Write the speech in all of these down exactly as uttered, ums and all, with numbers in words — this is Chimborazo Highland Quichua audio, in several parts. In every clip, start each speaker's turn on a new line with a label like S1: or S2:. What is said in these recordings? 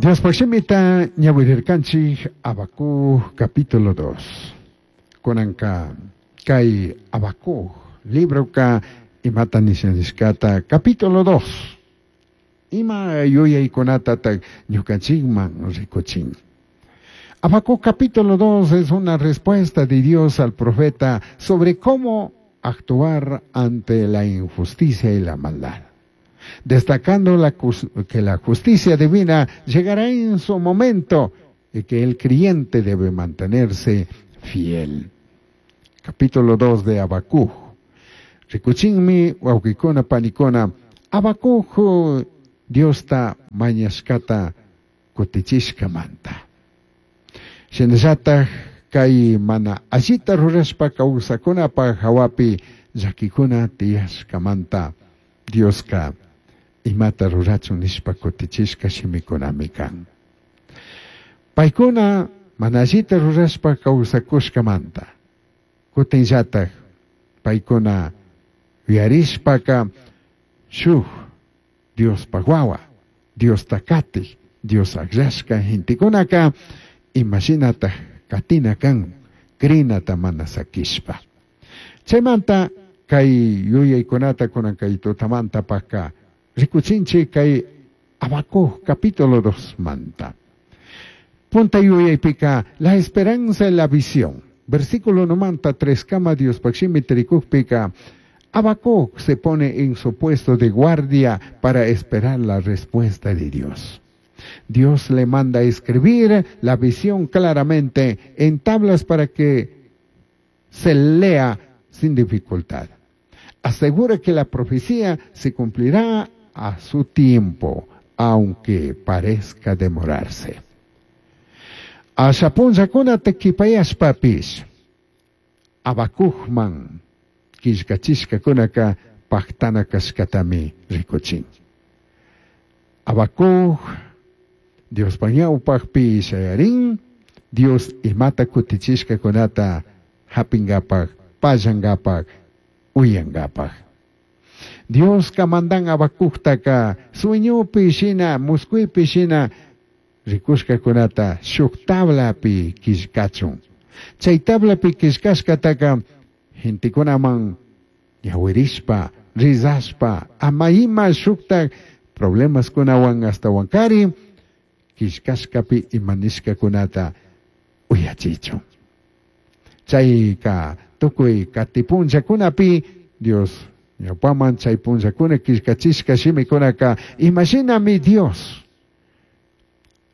S1: Diospaj shimita ñawirirkanchik Habacuc capítulo dos. Kunanka kay Habacuc libroka imata nishanishkata capítulo dos. Ima yuyaykunatataq ñukanchikman rikuchin. Habacuc capítulo dos es una respuesta de Dios al profeta sobre cómo actuar ante la injusticia y la maldad, destacando la que la justicia divina llegará en su momento y que el creyente debe mantenerse fiel. Capítulo dos de Habacuc. Rikuchinmi wawqikuna panikuna Habacuc Diosta mañashkata kutichishkamanta. Shinallataj kay mana allita rurashpa kawsakunapaj hawapi llakikuna tiyashkamanta Dioska imata rurachun nishpa kutichishka shimikunami kan. Paykuna mana allita rurashpa kawsakushkamanta kutinllataj paykuna yuyarishpaka shuk Diospaj wawa, Diosta katij, Dios akllashka gentekunaka imashinata katina kan krinata mana sakishpa. Chaymanta kay yuyaykunata kunan kay tutamanta paka rikuchinchik kay Habacuc capítulo dos manta. Punta yuyaypika la esperanza y la visión. Versículo numanta tres kama Diospaj shimi rikukpika Habacuc se pone en su puesto de guardia para esperar la respuesta de Dios. Dios le manda a escribir la visión claramente en tablas para que se lea sin dificultad. Asegura que la profecía se cumplirá a su tiempo, aunque parezca demorarse. Asha punllakuna q'uipayashpapish, Habacucman killkachishkakunaka pajtana kashkatami rikuchin. Habacuc Diospaj ñawpajpi shayarin, Dios imata kutichishkakunata japingapaj, pallangapaj, uyangapaj. Dioska mandan Habacuctaka sueñopi shina, muscuipi shina rikushkakunata shuk tablapi killkachun. Chay tablapi killkashkataka gentekunaman ñawirishpa, rizashpa, ama ima shukta problemas kunawan ashtawankari, killkashkapi ima nishkakunata uyachichun. Chayka tukuy kati punllakunapi Dios ñawpaman chay punllakuna killkachishka shimikunaka imashinami Dios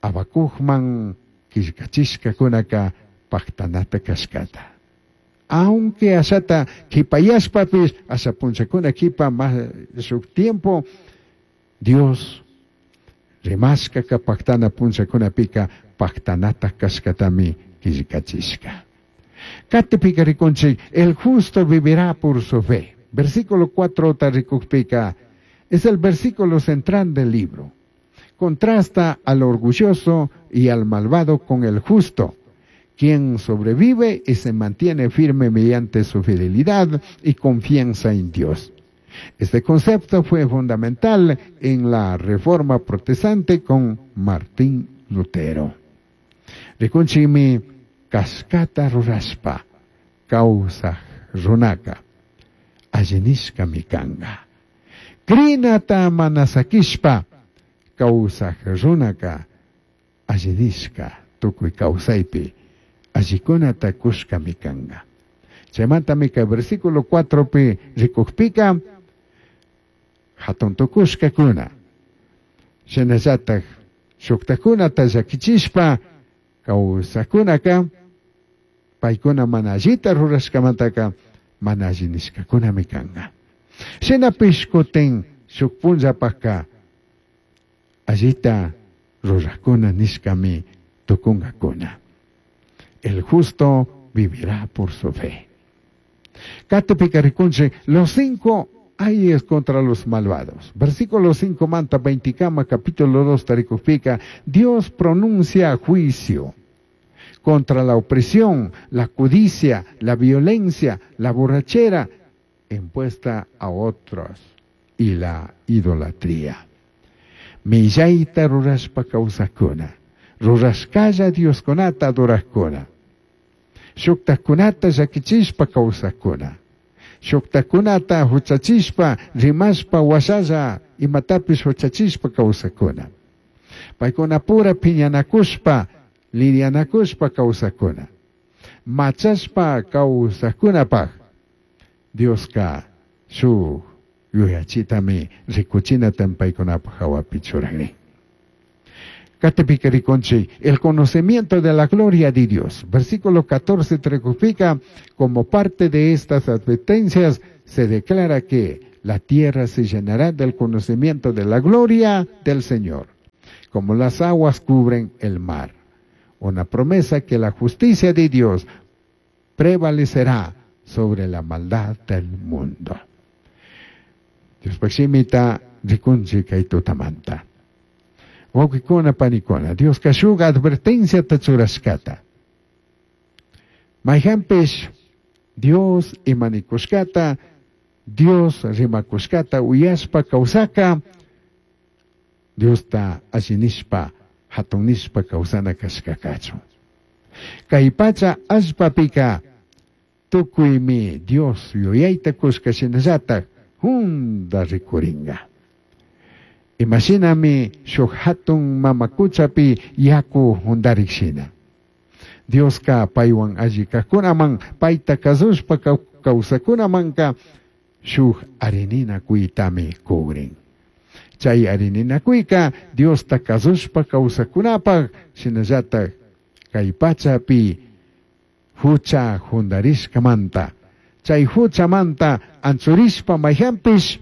S1: Habacucman killkachishkakunaka pajtanata kashkata. Aunque ashata q'uipayashpapish, asha punllakuna q'uipa mas shuk tiempo, Dios rimashkaka pajtana punllakunapika pajtanata kashkatami killkachishka. Katipika rikunchik, el justo vivirá por su fe. Versículo cuatro rikukpika, es el versículo central del libro. Contrasta al orgulloso y al malvado con el justo, quien sobrevive y se mantiene firme mediante su fidelidad y confianza en Dios. Este concepto fue fundamental en la Reforma Protestante con Martín Lutero. Rikunchimi kashkata rurashpa kawsaj runaka allinishkami kanga. Krinata mana sakishpa kawsaj runaka allinishka tukuy kawsaypi allikunata kushkami kanga. Chaymantami kay versículo cuatro pi rikukpika hatun tukushkakuna shinallataj shuktakunata llakichishpa kawsajkunaka paykuna mana allita rurashkamantaka mana alli nishkakunami kanga. Shinapish kutin shuk punllapajka allita rurajkuna nishkami tukunkakuna. El justo vivirá por su fe. Katipika rikunchik, los cinco ayes contra los malvados. Versículo cinco manta veinticama, capítulo dos, tarikupika, Dios pronuncia juicio contra la opresión, la codicia, la violencia, la borrachera impuesta a otros y la idolatría. Millaita rurashpa kawsakuna, rurashkalla Dioskunata adorakuna, shuktakunata llakichishpa kawsakuna, shuktakunata huchachishpa rimashpa washalla imatapish huchachishpa kawsakuna, paykuna pura piñanakushpa lidianakushpa kawsakuna, machashpa kawsakunapaj Dioska shuk yuyachitami rikuchinata paykunapaj hawapi churagrin. Katipika rikunchik, el conocimiento de la gloria de Dios. Versículo catorce tricupica, como parte de estas advertencias, se declara que la tierra se llenará del conocimiento de la gloria del Señor, como las aguas cubren el mar. Una promesa que la justicia de Dios prevalecerá sobre la maldad del mundo. Diospaj shimita rikunchik kay tutamanta. Wawqikuna panikuna, Dioska shuk advertenciata churashkata. Mayhanpish Dios imanikushkata, Dios rimakushkata uyashpa kawsaka, Diosta allinishpa, hatunishpa kawsana kashkakachu. Kay pacha allpapika tukuymi Dios yuyayta kushka shinallatak hunda rikuringa. Imashinami shuk hatun mamakuchapi yaku hundarik shina. Dioska paywan alli kajkunaman, payta kasushpa kawsakunamanka shuk arininakuytami kugrin. Chay arininakuyka Diosta kasushpa kawsakunapaj shinallatak kay pachapi hucha hundarishkamanta. Chay huchamanta anchurishpa mayhanpish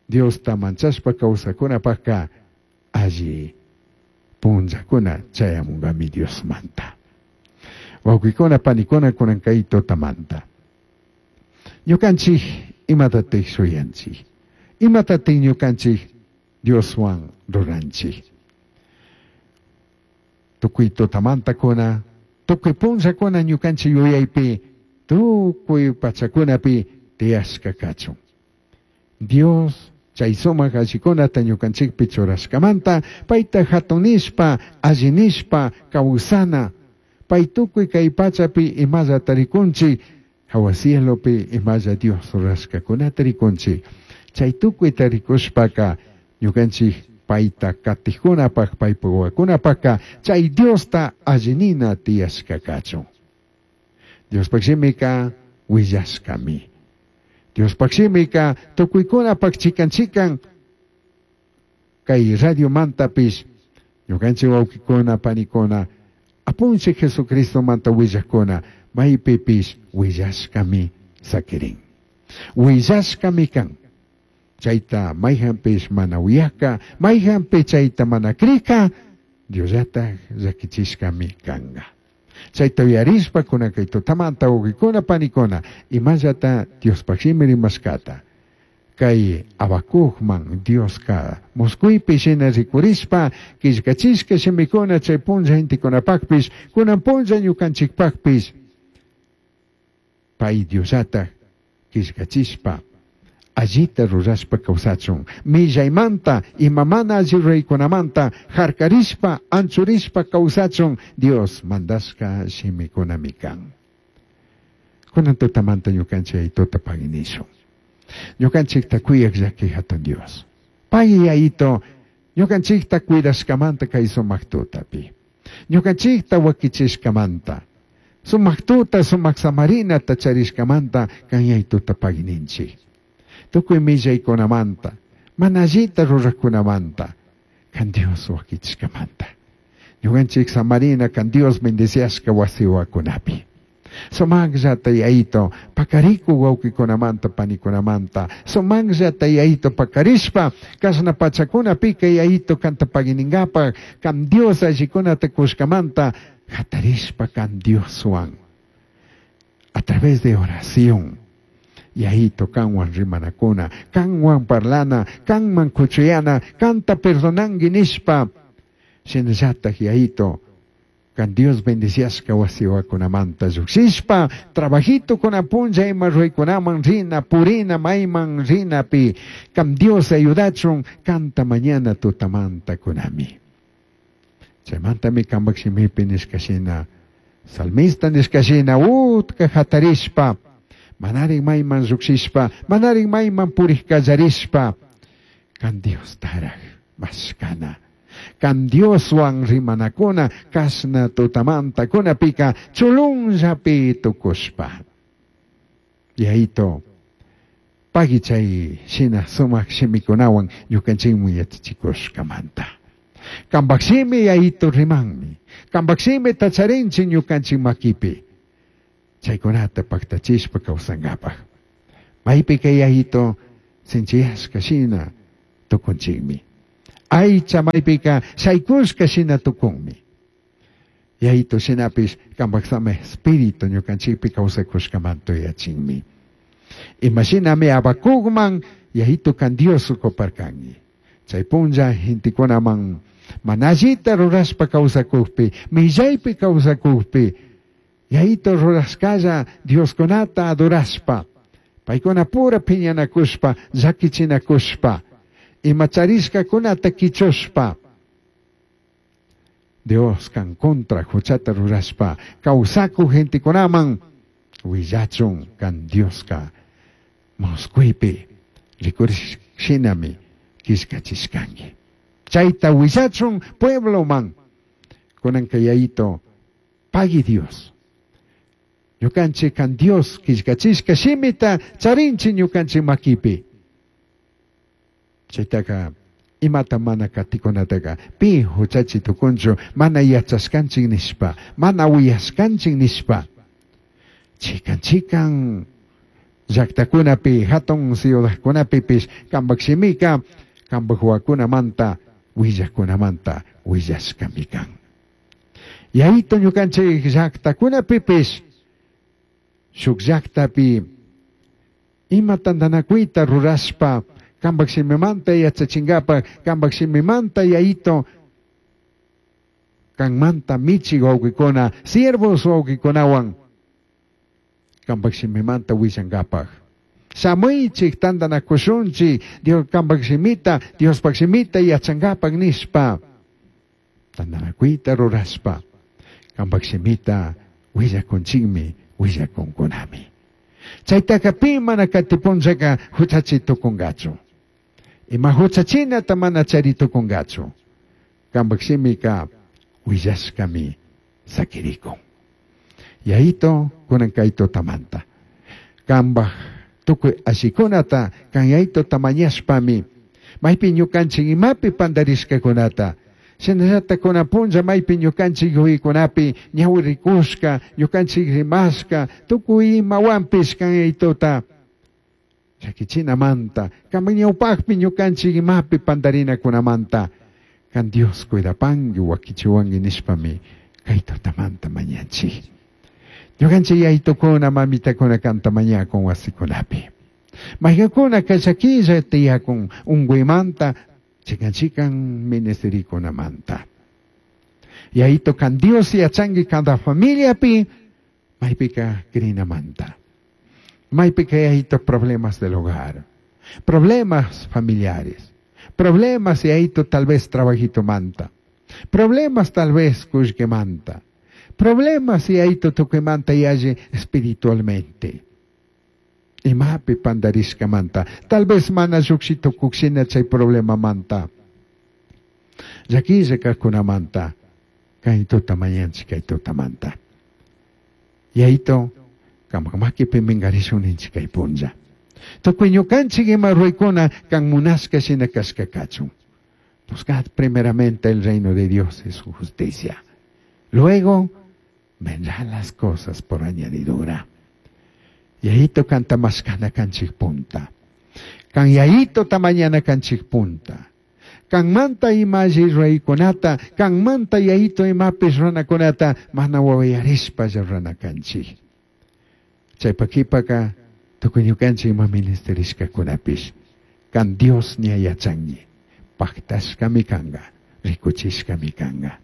S1: Diosta manchashpa kawsakunapajka alli punllakuna chayamungami Diosmanta. Wawqikuna panikuna kunan kay tutamanta. Ñukanchik imatatik shuyanchik, imatatik ñukanchik Dioswan ruranchik. Tukuy tutamantakuna, tukuy punllakuna ñukanchik yuyaypi, tukuy pachakunapi tiyashka kachun. Dios chay sumak allikunata ñukanchikpi churashkamanta, payta hatunishpa, allinishpa kawsana, pay tukuy kay pachapi imallata rikunchik, hawa cielopi imalla Dios rurashkakunata rikunchik. Chay tukuyta rikushpaka ñukanchik payta katijkunapaj, paypa wawakunapajka chay Diosta allinina tiyashka kachun. Diospaj shimika willashkami. Diospaj shimika tukuykunapaj chikan chikan kay radio mantapish ñukanchik wawqikuna panikuna apunchik Jesucristo manta willakuna maypipish willashkami sakirin. Willashkami kan. Chayta mayhanpish mana uyaka, mayhanpi chayta mana krika, Diosllatak llakichishkami kanka. Chayta uyarishpa kunan kay tutamanta wawqikuna panikuna imallata Diospaj shimi rimashkata. Kay Habacucman Dioska muskuypi shina rikurishpa killkachishka shimikuna chay punlla gentekunapakpish kunan punlla ñukanchikpakpish pay Diosllatak killkachishpa allita rurashpa kawsachun millaymanta ima mana alli ruraykunamanta harkarishpa anchurishpa kawsachun Dios mandashka shimikunami kan. Kunan tutamanta ñukanchik tuta paginishun. Ñukanchikta kuyak llaki hatun Dios. Pay yayito ñukanchikta cuidashkamanta kay sumak tutapi. Ñukanchikta wakichishkamanta. Sumak tuta, sumak samarinata charishkamanta kan yayituta pagininchik. Tukuy millaykunamanta, mana allita rurakunamanta, kan Dios wakichishkamanta. Ñukanchik samarina kan Dios bendeciashka wasiwakunapi. Sumakllata yayito pakariku wawqikunamanta panikunamanta. Sumakllata yayito pakarishpa kashna pachakunapika yayito kanta pagininkapak kan Dios allikunata kushkamanta hatarishpa kan Dioswan. A través de oración. Yayito kanwan rimanakuna, kanwan parlana, kanman kuchuyana, kanta perdonanki nishpa. Shinallatak yayito Kan Dios bendiciashka wasiwakunamanta llukshishpa trabajito punlla ima ruykunaman rina purina mayman rinapi kan Dios ayudachun kanta mañana tutamanta kunami. Chaymantami kanpak shimipi nishkashina salmista nishkashina utka hatarishpa manarin mayman llukshishpa manarin mayman purik kallarishpa kan Dios taraj mashkana. Kan Dioswan rimanakuna kashna tutamanta kunapika chulunllapi tukushpa. Yayito pagui chay shina sumak shimikunawan ñukanchikmi yachachikushkamanta. Kanpak shimi yayito rimanmi. Kanpak shimi tacharinchik ñukanchik makipi. Chaykunata paktachishpa kawsankapaq. Maypika yayito sinchiyashka shina tukunchikmi. Aycha maypika shaykushka shina tukunmi. Yayito shinapish kanpak sama espíritu ñukanchikpi kawsakushkamanta yachinmi. Imashinami Habacucman yayito kan Dios ukuparkanki. Chay punlla gentekunaman mana allita rurashpa kawsakukpi, millaypi kawsakukpi, yayito rurashkalla Dioskunata adorashpa, paykuna pura piñanakushpa, llakichinakushpa, ima charishkakunata kichushpa, Dios kan contra huchata rurashpa, kawsakuk gentekunaman willachun kan Dioska musquypi rikurishinami killkachishkanki. Chayta willachun puebloman kunanka yayito pagui Dios. Ñukanchik kan Dios killkachishka shimita charinchik ñukanchik makipi. Chaytaka imata mana katikunataka pi huchachi tukunchu mana yachashkanchik nishpa mana uyashkanchik nishpa. Chikan chikan llaktakunapi hatun ciudadkunapipish kanpak shimika kanpak wawakunamanta willakunamanta willashkami kan. Yayito ñukanchik llaktakunapipish shuk llaktapi ima tantanakuyta rurashpa kanpak shimimanta yachachinkapak kanpak shimimanta yayito kanmanta michik wawqikuna siervos wawqikunawan kanpak shimimanta willankapak. Shamuychik tantanakushunchik Dios kanpak shimita Diospak shimita yachankapak nishpa tantanakuyta rurashpa kanpak shimita willakunchikmi willakunkunami. Chaytaka pi mana katipunllaka huchachi tukunkachu. Ima huchachinata mana chari tukunkachu. Kanpak shimika willashkami sakirikun. Yayito kunan kay tutamanta. Kanpak tukuy allikunata kan yayito tamañashpami maypi ñukanchik imapi pandarishkakunata shinallata kunan punlla maypi ñukanchik yuyaykunapi ñawirikushka ñukanchik rimashka tukuy imawanpish kan yayituta llakichinamanta kanpak ñawpakpi ñukanchik imapi pandarinakunamanta kan Dios cuidapanki wakichiwanki nishpami kay tutamanta mañanchik. Ñukanchik yaytukuna mamitakuna kanta mañakun wasikunapi. Mayqankuna kallakilla tiyakun unkuymanta chikan chikan ministerikunamanta. Yayito kan Dios yachanki cada familiapi maypika crinamanta. Maypika yayito problemas del hogar, problemas familiares, problemas yayito tal vez trabajito manta, problemas tal vez kullkimanta, problemas yayito tukuymanta yalli espiritualmente. Imapi pandarishkamanta, tal vez mana lluqshi tukukshina chay problemamanta. Llakilla kaqkunamanta, kay tuta mañanchik kay tutamanta. Yayito, kanpak makipi minkarishun ninchik kay punlla. Tukuy ñukanchik ima ruwaykuna kan munashka shina kashka kachun. Buscad primeramente el reino de Dios y su justicia. Luego vendrán las cosas por añadidura. Yayito kanta mashkana kanchik punta. Kan yayito tamañana kanchik punta. Kan manta ima alli ruwaykunata, kan manta yayito imapish runakunata, mana wawayarishpa rurana kanchik. Chaypa kipaka tukuy ñukanchik ima ministerishkakunapish. Kan Dios ña yachanki, paktashkami kanka, rikuchishkami kanka.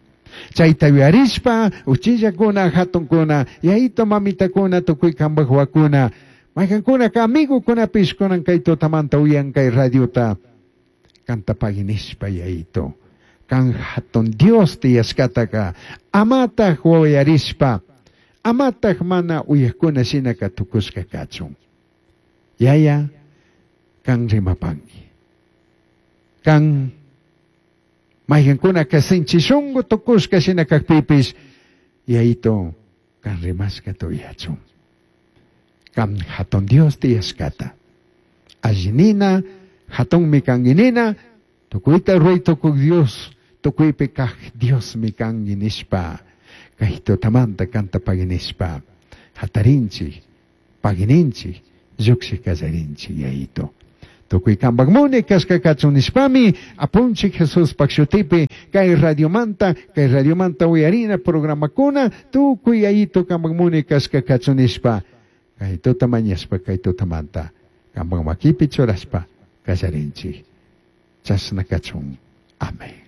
S1: Chayta yuyarishpa uchillakuna hatunkuna yayito mamitakuna tukuy kambaj wawakuna maykankunaka amigukunapish kunan kay tutamanta uyan kay radiota kanta pagui nishpa yayito kan hatun Dios tiyashkataka amataj wawayarishpa amataj mana uyakuna shinaka tukushka kachun yaya kan rimapanki kan maykankunaka sinchi shunku tukushka shina kakpipish yayito kan rimashkata uyachun kan hatun Dios tiyashkata alli nina hatunmi kanki nina tukuyta ruray tukuy Dios tukuypi kaj Diosmi kanki nishpa kay tutamanta kanta pagui nishpa hatarinchik pagui ninchik lluksik kallarinchik yayito tukuy kambak munay kashka kachun nishpami apunchik Jesuspak shutipi kay radiomanta kay radiomanta uyarina programakuna tukuy yayito kambak munay kashka kachun nishpa kay tuta mañashpa kay tutamanta kambak makipi churashpa kallarinchik chashna kachun amén.